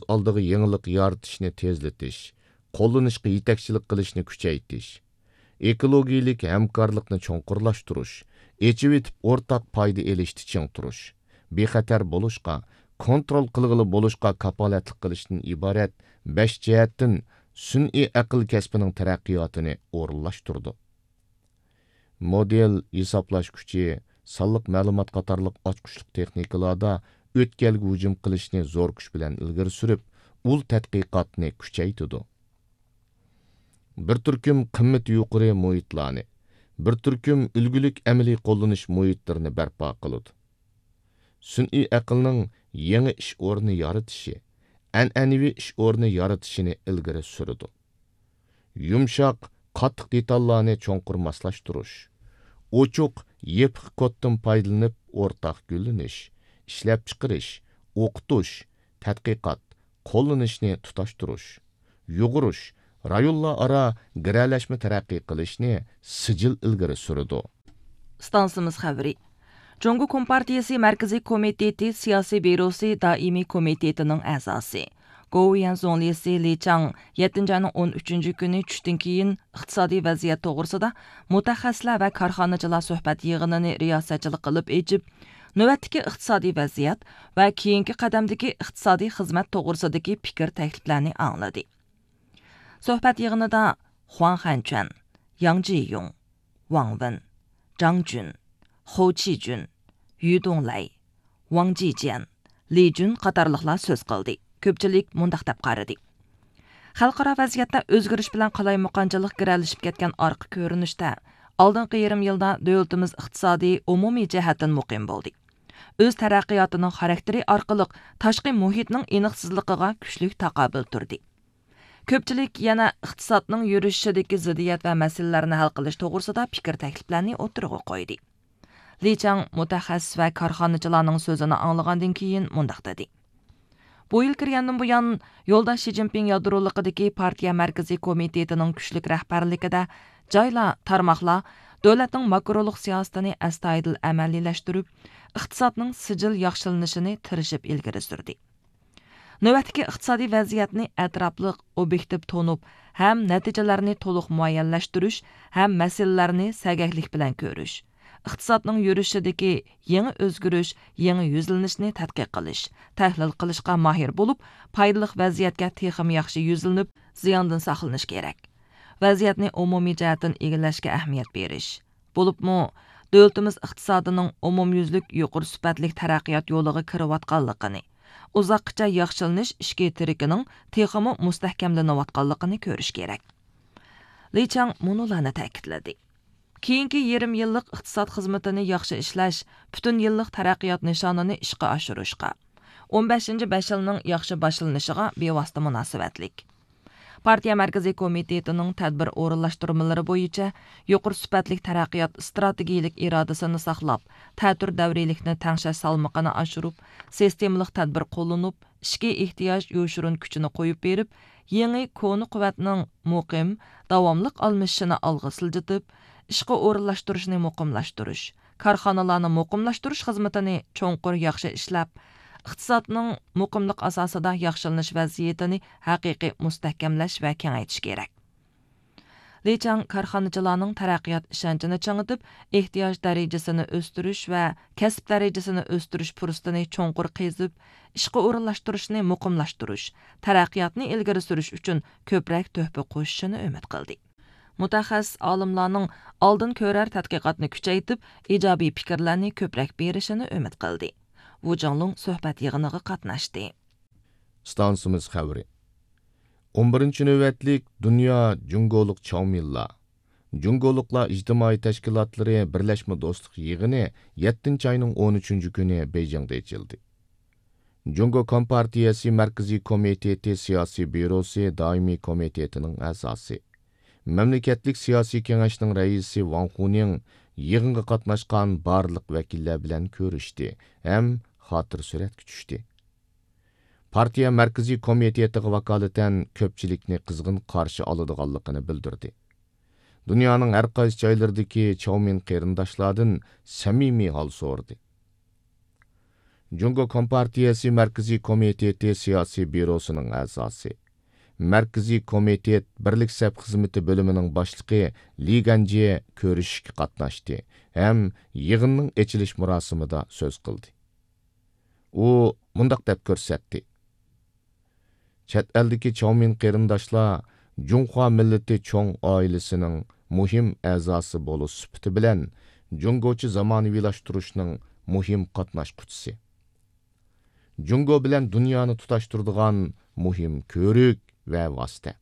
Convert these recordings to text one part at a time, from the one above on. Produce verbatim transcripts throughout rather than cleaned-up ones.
ئالدىغا يېڭىلىق يارىتىشنى تېزلىتىش، قوللىنىشقا يېتەكچىلىك قىلىشنى كۈچەيتىش، ئېكولوگىيىلىك ھەمكارلىقنى چوڭقۇرلاشتۇرۇش، ئېچىۋېتىپ ئورتاق پايدا ئېلىشتا چىڭ تۇرۇش، بىخەتەر بولۇشقا، كونترول قىلغىلى بولۇشقا كاپالەتلىك قىلىشتىن ئىبارەت بەش جەھەتتىن سۈنئىي ئەقىل كەسپىنىڭ تەرەققىياتىنى ئورۇنلاشتۇرىدۇ. مودېل، ھېسابلاش كۈچى، سانلىق مەلۇمات قاتارلىق ئاچقۇچلۇق تېخنىكىلاردا ئۆتكەلگە ھۇجۇم قىلىشنى زور كۈچ بىلەن ئىلگىرى سۈرۈپ، ئۇل تەتقىقاتنى كۈچەيتىدۇ. بىر تۈركۈم قىممىتى يۇقىرى مۇھىتلارنى، بىر تۈركۈم ئۈلگىلىك ئەمەلىي قوللىنىش مۇھىتلىرىنى بەرپا قىلىدۇ. سۈنئىي ئەقىلنىڭ يېڭى ئىش ئورنى يارىتىشى، ئەنئەنىۋى ئىش ئورنى يارىتىشىنى ئىلگىرى سۈرىدۇ. يۇمشاق، قاتتىق دېتاللارنى چوڭقۇر ماسلاشتۇرۇش، ئوچۇق، يېپىق كودتىن پايدىلىنىپ ئورتاق گۈللىنىش، ئىشلەپچىقىرىش، ئوقۇتۇش، تەتقىقات، قوللىنىشنى تۇتاشتۇرۇش، يۇغۇرۇش، رايونلار ئارا گىرەلەشمە تەرەققىي قىلىشنى سىجىل ئىلگىرى سۈرىدۇ. ئىستانسىمىز خەۋىرى. جۇڭگو كومپارتىيىسى مەركىزىي كومىتېتى سىياسىي بيۇروسى دائىمىي كومىتېتىنىڭ ئەزاسى، گوۋۇيۈەن زۇڭلىسى لى چاڭ يەتتىنچى ئاينىڭ ئون ئۈچىنچى كۈنى چۈشتىن كېيىن ئىقتىسادىي ۋەزىيەت توغرىسىدا مۇتەخەسسىسلەر ۋە كارخانىچىلار سۆھبەت يىغىنىنى رىياسەتچىلىك قىلىپ ئېچىپ، نۆۋەتتىكى ئىقتىسادىي ۋەزىيەت ۋە كېيىنكى قەدەمدىكى ئىقتىسادىي خىزمەت توغرىسىدىكى پىكىر تەكلىپلەرنى ئاڭلىدى. سۆھبەت يىغىنىدا خۇاڭ خەنچۈەن، ياڭ جىيۇڭ، ۋاڭ ۋېن، جاڭ جۈن، خو چىجۈن، يۈ دۇڭلەي، ۋاڭ جىجيەن، لى جۈن قاتارلىقلار سۆز قىلدى. كۆپچىلىك مۇنداق دەپ قارىدى: خەلقئارا ۋەزىيەتتە ئۆزگىرىش بىلەن قالايمىقانچىلىق گىرەلىشىپ كەتكەن ئارقا كۆرۈنۈشتە، ئالدىنقى يېرىم يىلدا دۆلىتىمىز ئىقتىسادىي ئومۇمىي جەھەتتىن مۇقىم بولدى. ئۆز تەرەققىياتىنىڭ خاراكتېرى ئارقىلىق تاشقى مۇھىتنىڭ ئېنىقسىزلىقىغا كۈچلۈك تاقابىل تۇردى. كۆپچىلىك يەنە ئىقتىسادنىڭ يۈرۈشۈشىدىكى زىددىيەت ۋە مەسىلىلەرنى ھەل قىلىش توغرىسىدا پىكىر تەكلىپلەرنى ئوتتۇرىغا قويدى. لى چاڭ مۇتەخەسسىس ۋە كارخانىچىلارنىڭ سۆزىنى ئاڭلىغاندىن كېيىن مۇنداق دېدى: بۇ يىل كىرگەندىن بۇيان، يولداش شى جىنپىڭ يادرولۇقىدىكى پارتىيە مەركىزىي كومىتېتىنىڭ كۈچلۈك رەھبەرلىكىدە جايلار، تارماقلار دۆلەتنىڭ ماكرولۇق سىياسىتىنى ئەستايىدىل ئەمەلىيلەشتۈرۈپ، ئىقتىسادنىڭ سىجىل ياخشىلىنىشىنى تىرىشىپ ئىلگىرى سۈردى. نۆۋەتتىكى ئىقتىسادىي ۋەزىيەتنى ئەتراپلىق، ئوبيېكتىپ تونۇپ، ھەم نەتىجىلەرنى تولۇق مۇئەييەنلەشتۈرۈش، ھەم مەسىلىلەرنى سەگەكلىك بىلەن كۆرۈش، ئىقتىسادنىڭ يۈرۈشىدىكى يېڭى ئۆزگىرىش، يېڭى يۈزلىنىشنى تەتقىق قىلىش، تەھلىل قىلىشقا ماھىر بولۇپ، پايدىلىق ۋەزىيەتكە تېخىمۇ ياخشى يۈزلىنىپ، زىياندىن ساقلىنىش كېرەك. ۋەزىيەتنى ئومۇمىي جەھەتتىن ئىگىلەشكە ئەھمىيەت بېرىش، بولۇپمۇ، دۆلىتىمىز ئىقتىسادىنىڭ ئومۇميۈزلۈك يۇقىرى سۈپەتلىك تەرەققىيات يولىغا كىرىۋاتقانلىقىنى، ئۇزاققىچە ياخشىلىنىش ئىچكى تىرىكىنىڭ تېخىمۇ مۇستەھكەملىنىۋاتقانلىقىنى كۆرۈش كېرەك. لى چاڭ مۇنۇلارنى تەكىتلىدى: كېيىنكى يېرىم يىللىق ئىقتىساد خىزمىتىنى ياخشى ئىشلەش پۈتۈن يىللىق تەرەققىيات نىشانىنى ئىشقا ئاشۇرۇشقا، ئون بەشىنچى بەش يىلنىڭ ياخشى باشلىنىشىغا بىۋاسىتە مۇناسىۋەتلىك. پارتىيە مەركىزىي كومىتېتىنىڭ تەدبىر ئورۇنلاشتۇرمىلىرى بويىچە يۇقىرى سۈپەتلىك تەرەققىيات ئىستراتېگىيىلىك ئىرادىسىنى ساقلاپ، تەتۈر دەۋرىيلىكنى تەڭشەش سالمىقىنى ئاشۇرۇپ، سىستېمىلىق تەدبىر قوللىنىپ، ئىچكى ئېھتىياج يوشۇرۇن كۈچىنى قويۇپ بېرىپ، يېڭى كونا قۇۋۋەتنىڭ مۇقىم، داۋاملىق ئالمىشىشىنى ئالغا سىلجىتىپ، ئىشقا ئورۇنلاشتۇرۇشنى مۇقىملاشتۇرۇش، كارخانىلارنى مۇقىملاشتۇرۇش خىزمىتىنى چوڭقۇر ياخشى ئىشلەپ، ئىقتىسادنىڭ مۇقىملىق ئاساسىدا ياخشىلىنىش ۋەزىيىتىنى ھەقىقىي مۇستەھكەملەش ۋە كېڭەيتىش كېرەك. لى چاڭ كارخانىچىلارنىڭ تەرەققىيات ئىشەنچىنى چىڭىتىپ، ئېھتىياج دەرىجىسىنى ئۆستۈرۈش ۋە كەسىپ دەرىجىسىنى ئۆستۈرۈش پۇرسىتىنى چوڭقۇر قېزىپ، ئىشقا ئورۇنلاشتۇرۇشنى مۇقىملاشتۇرۇش، تەرەققىياتنى ئىلگىرى سۈرۈش ئۈچۈن كۆپرەك تۆھپە قوشۇشىنى ئۈمىد قىلدى. مۇتەخەسسىس ئالىملارنىڭ ئالدىن كۆرەر تەتقىقاتنى كۈچەيتىپ، ئىجابىي پىكىرلەرنى كۆپرەك بېرىشىنى ئۈمىد قىلدى. ۋۇ جاڭلۇڭ سۆھبەت يىغىنىغا قاتناشتى. ئىستانسىمىز خەۋىرى. ئون بىرىنچى نۆۋەتلىك دۇنيا جۇڭگولۇق چاۋمىنلار، جۇڭگولۇقلار ئىجتىمائىي تەشكىلاتلىرى بىرلەشمە دوستلۇق يىغىنى يەتتىنچى ئاينىڭ ئون ئۈچىنچى كۈنى بېيجىڭدا ئېچىلدى. جۇڭگو كومپارتىيەسى مەركىزىي كومىتېتى سىياسىي بيۇروسى دائىمىي كومىتېتىنىڭ ئەزاسى، مەملىكەتلىك سىياسىي كېڭەشنىڭ رەئىسى ۋاڭ خۇنىڭ يىغىنغا قاتناشقان بارلىق ۋەكىللەر بىلەن كۆرۈشتى ھەم خاتىرە سۈرەتكە چۈشتى. پارتىيە مەركىزىي كومىتېتىغا ۋاكالىتەن كۆپچىلىكنى قىزغىن قارشى ئالىدىغانلىقىنى بىلدۈردى. دۇنيانىڭ ھەر قايسى جايلىرىدىكى چاۋمىن قېرىنداشلاردىن سەمىمىي ھال سورىدى. جۇڭگو كومپارتىيەسى مەركىزىي كومىتېتى سىياسىي بيۇروسىنىڭ ئەزاسى، مەركىزىي كومىتېت بىرلىك سەپ خىزمىتى بۆلۈمىنىڭ باشلىقى لى گەنجيې كۆرۈشۈشكە قاتناشتى ھەم يىغىننىڭ ئېچىلىش مۇراسىمىدا سۆز قىلدى. ئۇ مۇنداق دەپ كۆرسەتتى: چەت ئەلدىكى چاۋمىن قېرىنداشلار جۇڭخۇا مىللىتى چوڭ ئائىلىسىنىڭ مۇھىم ئەزاسى بولۇش سۈپىتى بىلەن جۇڭگوچە زامانىۋىلاشتۇرۇشنىڭ مۇھىم قاتناشقۇچىسى، جۇڭگو بىلەن دۇنيانى تۇتاشتۇرىدىغان مۇھىم كۆۋرۈك ۋە ۋاسىتە.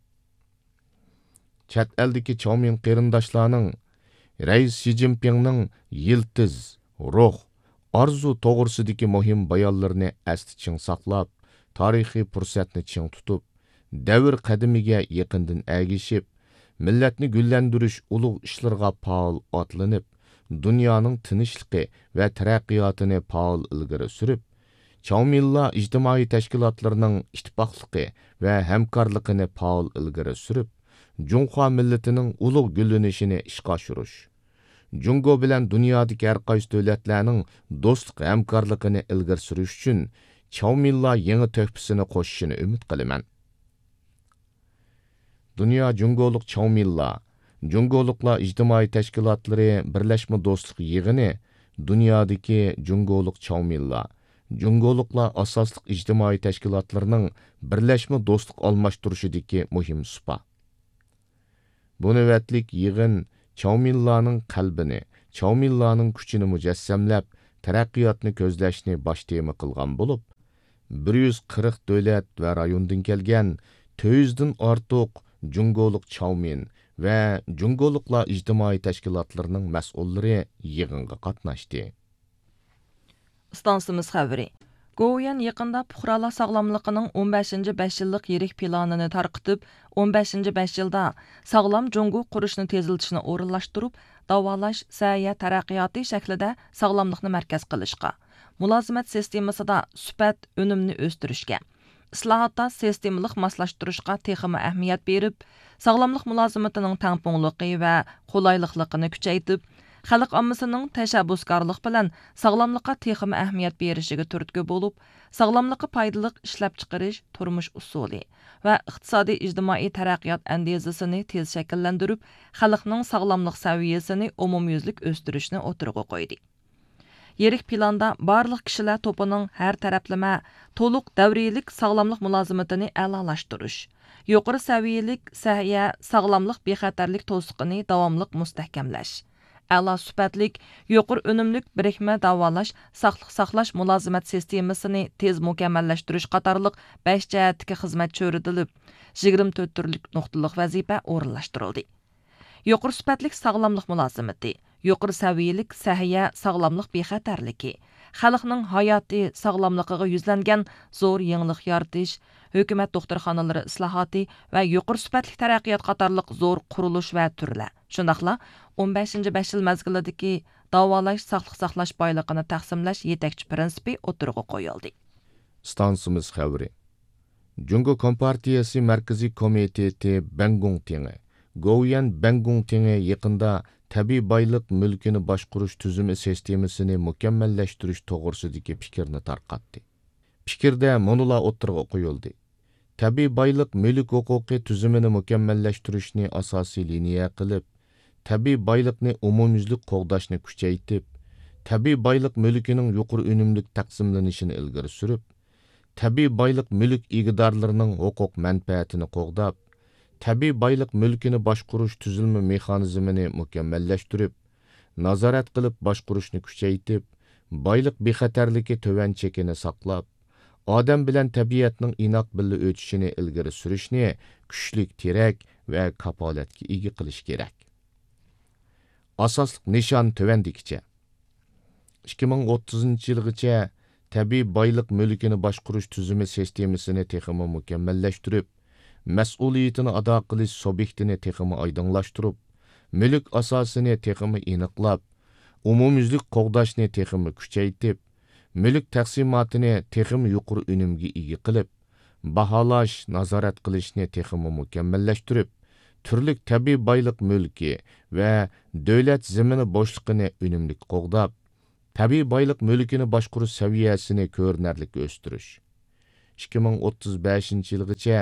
چەت ئەلدىكى چاۋمىن قېرىنداشلارنىڭ رەئىس شى جىنپىڭنىڭ يىلتىز، روھ، ئارزۇ توغرىسىدىكى مۇھىم بايانلىرىنى ئەستە چىڭ ساقلاپ، تارىخىي پۇرسەتنى چىڭ تۇتۇپ، دەۋر قەدىمىگە يېقىندىن ئەگىشىپ، مىللەتنى گۈللەندۈرۈش ئۇلۇغ ئىشلىرىغا پائال ئاتلىنىپ، دۇنيانىڭ تىنچلىقى ۋە تەرەققىياتىنى پائال ئىلگىرى سۈرۈپ، چاۋمىنلا ئىجتىمائىي تەشكىلاتلىرىنىڭ ئىتتىپاقلىقى ۋە ھەمكارلىقىنى پائال ئىلگىرى سۈرۈپ، جۇڭخۇا مىللىتىنىڭ ئۇلۇغ گۈللىنىشىنى ئىشقا ئاشۇرۇش، جۇڭگو بىلەن دۇنيادىكى ھەرقايسى دۆلەتلەرنىڭ دوستلۇق ھەمكارلىقىنى ئىلگىرى سۈرۈش ئۈچۈن چاۋمىنلا يېڭى تۆھپىسىنى قوشۇشىنى ئۈمىد قىلىمەن. دۇنيا جۇڭگولۇق چاۋمىنلا، جۇڭگولۇقلار ئىجتىمائىي تەشكىلاتلىرى بىرلەشمە دوستلۇق يىغىنى دۇنيادىكى جۇڭگولۇق چاۋمىنلا، جۇڭگولۇقلار ئاساسلىق ئىجتىمائىي تەشكىلاتلىرىنىڭ بىرلەشمە دوستلۇق ئالماشتۇرۇشىدىكى مۇھىم سۇپا. بۇ نۆۋەتلىك يىغىن چاۋمىنلانىڭ قەلبىنى، چاۋمىنلانىڭ كۈچىنى مۇجەسسەملەپ، تەرەققىياتنى كۆزلەشنى باش تېما قىلغان بولۇپ، بىر يۈز قىرىق دۆلەت ۋە رايوندىن كەلگەن تۆت يۈزدىن ئارتۇق جۇڭگولۇق چاۋمىن ۋە جۇڭگولۇقلار ئىجتىمائىي تەشكىلاتلىرىنىڭ مەسئۇللىرى يىغىنغا قاتناشتى. ئىستانسىمىز خەۋىرى. گوۋۇيۈەن يېقىندا پۇقرالار ساغلاملىقىنىڭ ئون بەشىنچى بەش يىللىق يىرىك پىلانىنى تارقىتىپ، ئون بەشىنچى بەش يىلدا ساغلام جۇڭگو قۇرۇشنى تېزلىتىشنى ئورۇنلاشتۇرۇپ، داۋالاش، سەھىيە تەرەققىياتى شەكلىدە ساغلاملىقنى مەركەز قىلىشقا، مۇلازىمەت سىستېمىسىدا سۈپەت، ئۈنۈمنى ئۆستۈرۈشكە، ئىسلاھاتتا سىستېمىلىق ماسلاشتۇرۇشقا تېخىمۇ ئەھمىيەت بېرىپ، ساغلاملىق مۇلازىمىتىنىڭ تەڭپۇڭلۇقى ۋە قولايلىقلىقىنى كۈچەيتىپ، خەلق ئاممىسىنىڭ تەشەببۇسكارلىق بىلەن ساغلاملىققا تېخىمۇ ئەھمىيەت بېرىشىگە تۈرتكە بولۇپ، ساغلاملىققا پايدىلىق ئىشلەپچىقىرىش، تۇرمۇش ئۇسۇلى ۋە ئىقتىسادىي ئىجتىمائىي تەرەققىيات ئەندىزىسىنى تېز شەكىللەندۈرۈپ، خەلقنىڭ ساغلاملىق سەۋىيەسىنى ئومۇميۈزلۈك ئۆستۈرۈشنى ئوتتۇرىغا قويدى. يىرىك پىلاندا بارلىق كىشىلەر توپىنىڭ ھەر تەرەپلىمە، تولۇق دەۋرىيلىك ساغلاملىق مۇلازىمىتىنى ئەلالاشتۇرۇش، يۇقىرى سەۋىيەلىك سەھىيە، ساغلاملىق بىخەتەرلىك توسۇقىنى داۋاملىق مۇستەھكەملەش، ئەلا سۈپەتلىك، يۇقىرى ئۈنۈملۈك بىرىكمە داۋالاش، ساقلىق ساقلاش مۇلازىمەت سىستېمىسىنى تېز مۇكەممەللەشتۈرۈش قاتارلىق بەش جەھەتتىكى خىزمەت چۆرىدىلىپ، يىگىرمە تۆت تۈرلۈك نۇقتىلىق ۋەزىپە ئورۇنلاشتۇرۇلدى. يۇقىرى سۈپەتلىك ساغلاملىق مۇلازىمىتى، يۇقىرى سەۋىيەلىك سەھىيە ساغلاملىق بىخەتەرلىكى، خەلقنىڭ ھاياتىي ساغلاملىقىغا يۈزلەنگەن زور يېڭىلىق يارىتىش، ھۆكۈمەت دوختۇرخانىلىرى ئىسلاھاتى ۋە يۇقىرى سۈپەتلىك تەرەققىيات قاتارلىق زور قۇرۇلۇش ۋە تۈرلەر، شۇنداقلا ئون بەشىنچى بەش يىل مەزگىلىدىكى داۋالاش، ساقلىق ساقلاش بايلىقىنى تەقسىملەش يېتەكچى پىرىنسىپى ئوتتۇرىغا قويۇلدى. ئىستانسىمىز خەۋىرى. جۇڭگو كومپارتىيەسى مەركىزىي كومىتېتى بەنگۇڭتىڭى، گوۋۇيۈەن بەنگۇڭتىڭى يېقىندا تەبىئىي بايلىق مۈلكىنى باشقۇرۇش تۈزۈمى سىستېمىسىنى مۇكەممەللەشتۈرۈش توغرىسىدىكى پىكىرنى تارقاتتى. پىكىردە مۇنۇلار ئوتتۇرىغا قويۇلدى. تەبىئىي بايلىق مۈلۈك ھوقۇقى تۈزۈمىنى مۇكەممەللەشتۈرۈشنى ئاساسىي لىنىيە قىلىپ، تەبىئىي بايلىقنى ئومۇميۈزلۈك قوغداشنى كۈچەيتىپ، تەبىئىي بايلىق مۈلكىنىڭ يۇقىرى ئۈنۈملۈك تەقسىملىنىشىنى ئىلگىرى سۈرۈپ، تەبىئىي بايلىق مۈلۈك ئىگىدارلىرىنىڭ ھوقۇق مەنپەئەتىنى قوغداپ، تەبىئىي بايلىق مۈلكىنى باشقۇرۇش تۈزۈلمە مېخانىزمىنى مۇكەممەللەشتۈرۈپ، نازارەت قىلىپ باشقۇرۇشنى كۈچەيتىپ، بايلىق بىخەتەرلىكى تۆۋەن چېكىنى ساقلاپ، ئادەم بىلەن تەبىئەتنىڭ ئىناق بىللە ئۆتۈشىنى ئىلگىرى سۈرۈشنى كۈچلۈك تىرەك ۋە كاپالەتكە ئىگە قىلىش كېرەك. ئاساسلىق نىشان تۆۋەندىكىچە. ئىككى مىڭ ئوتتۇزىنچى يىلغىچە تەبىئىي بايلىق مۈلكىنى باشقۇرۇش تۈزۈمى سىستېمىسىنى تېخىمۇ مۇكەممەللەشتۈرۈپ، مەسئۇلىيىتىنى ئادا قىلىش سۇبيېكتىنى تېخىمۇ ئايدىڭلاشتۇرۇپ، مۈلۈك ئاساسىنى تېخىمۇ ئېنىقلاپ، ئومۇميۈزلۈك قوغداشنى تېخىمۇ كۈچەيتىپ، مۈلۈك تەقسىماتىنى تېخىمۇ يۇقىرى ئۈنۈمگە ئىگە قىلىپ، باھالاش، نازارەت قىلىشنى تېخىمۇ مۇكەممەللەشتۈرۈپ، تۈرلۈك تەبىئىي بايلىق مۈلكى ۋە دۆلەت زېمىنى بوشلۇقىنى ئۈنۈملۈك قوغداپ، تەبىئىي بايلىق مۈلكىنى باشقۇرۇش سەۋىيەسىنى كۆرۈنەرلىك ئۆستۈرۈش. ئىككى مىڭ ئوتتۇز بەشىنچى يىلغىچە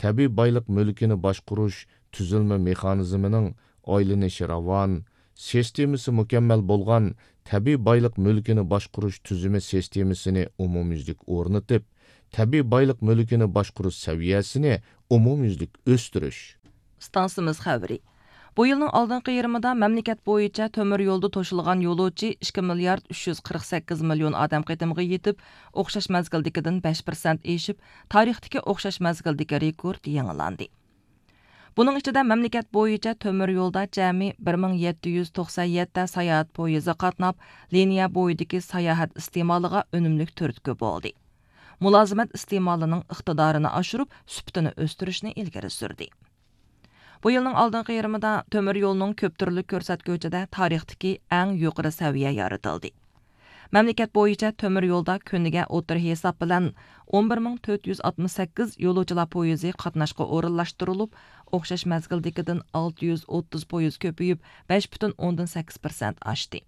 تەبىئىي بايلىق مۈلكىنى باشقۇرۇش تۈزۈلمە مېخانىزمىنىڭ ئايلىنىشى راۋان، سىستېمىسى مۇكەممەل بولغان تەبىئىي بايلىق مۈلكىنى باشقۇرۇش تۈزۈمى سىستېمىسىنى ئومۇميۈزلۈك ئورنىتىپ، تەبىئىي بايلىق مۈلكىنى باشقۇرۇش سەۋىيەسىنى ئومۇميۈزلۈك ئۆستۈرۈش. ئىستانسىمىز خەۋىرى. بۇ يىلنىڭ ئالدىنقى يېرىمىدا مەملىكەت بويىچە تۆمۈر يولدا توشۇلغان يولۇچى ئىككى مىليارد ئۈچ يۈز قىرىق سەككىز مىليون ئادەم قېتىمىغا يېتىپ، ئوخشاش مەزگىلدىكىدىن بەش پىرسەنت ئېشىپ، تارىختىكى ئوخشاش مەزگىلدىكى رېكورت يېڭىلاندى. بۇنىڭ ئىچىدە مەملىكەت بويىچە تۆمۈر يولدا جەمئىي بىر مىڭ يەتتە يۈز توقسان يەتتە ساياھەت پويىزى قاتناپ، لىنىيە بويىدىكى ساياھەت ئىستېمالىغا ئۈنۈملۈك تۈرتكە بولدى. مۇلازىمەت ئىستېمالىنىڭ ئىقتىدارىنى ئاشۇرۇپ، سۈپىتىنى ئۆستۈرۈشنى ئىلگىرى سۈردى. بۇ يىلنىڭ ئالدىنقى يېرىمىدا تۆمۈر يولنىڭ كۆپ تۈرلۈك كۆرسەتكۈچىدە تارىختىكى ئەڭ يۇقىرى سەۋىيە يارىتىلدى. مەملىكەت بويىچە تۆمۈر يولدا كۈنىگە ئوتتۇرا ھېساب بىلەن ئون بىر مىڭ تۆت يۈز ئاتمىش سەككىز يولۇچىلار پويىزى قاتناشقا ئورۇنلاشتۇرۇلۇپ، ئوخشاش مەزگىلدىكىدىن ئالتە يۈز ئوتتۇز پويىز كۆپىيىپ، بەش پۈتۈن ئوندىن سەككىز پىرسەنت ئاشتى.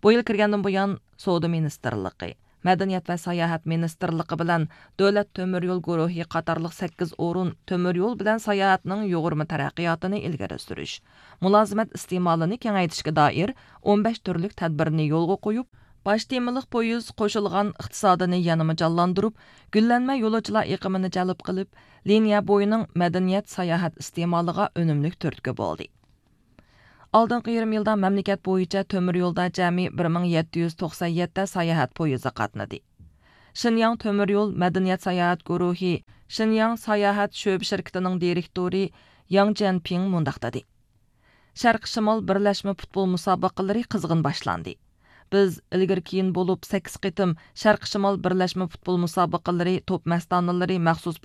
بۇ يىل كىرگەندىن بۇيان، سودا مىنىستىرلىقى، مەدەنىيەت ۋە ساياھەت مىنىستىرلىقى بىلەن دۆلەت تۆمۈر يول گۇرۇھى قاتارلىق سەككىز ئورۇن تۆمۈر يول بىلەن ساياھەتنىڭ يۇغۇرما تەرەققىياتىنى ئىلگىرى سۈرۈش، مۇلازىمەت ئىستېمالىنى كېڭەيتىشكە دائىر ئون بەش تۈرلۈك تەدبىرنى يولغا قويۇپ، باش تېمىلىق پويىز قوشۇلغان ئىقتىسادىنى يەنىمۇ جانلاندۇرۇپ، گۈللەنمە يولۇچىلار ئېقىمىنى جەلپ قىلىپ، لىنىيە بويىنىڭ مەدەنىيەت ساياھەت ئىستېمالىغا ئۈنۈملۈك تۈرتكە بولدى. ئالدىنقى يېرىم يىلدا مەملىكەت بويىچە تۆمۈر يولدا جەمئىي بىر مىڭ يەتتە يۈز توقسان يەتتە ساياھەت پويىزى قاتنىدى. شىنياڭ تۆمۈر يول مەدەنىيەت ساياھەت گۇرۇھى شىنياڭ ساياھەت شۆبە شىركىتىنىڭ دىرېكتورى ياڭ جيەنپىڭ مۇنداق دېدى: شەرقىي شىمال بىرلەشمە پۇتبول مۇسابىقىلىرى قىزغىن باشلاندى. بىز ئىلگىرى كېيىن بولۇپ سەككىز قېتىم شەرقىي شىمال بىرلەشمە پۇتبول مۇسابىقىلىرى توپ مەستانىلىرى مەخسۇس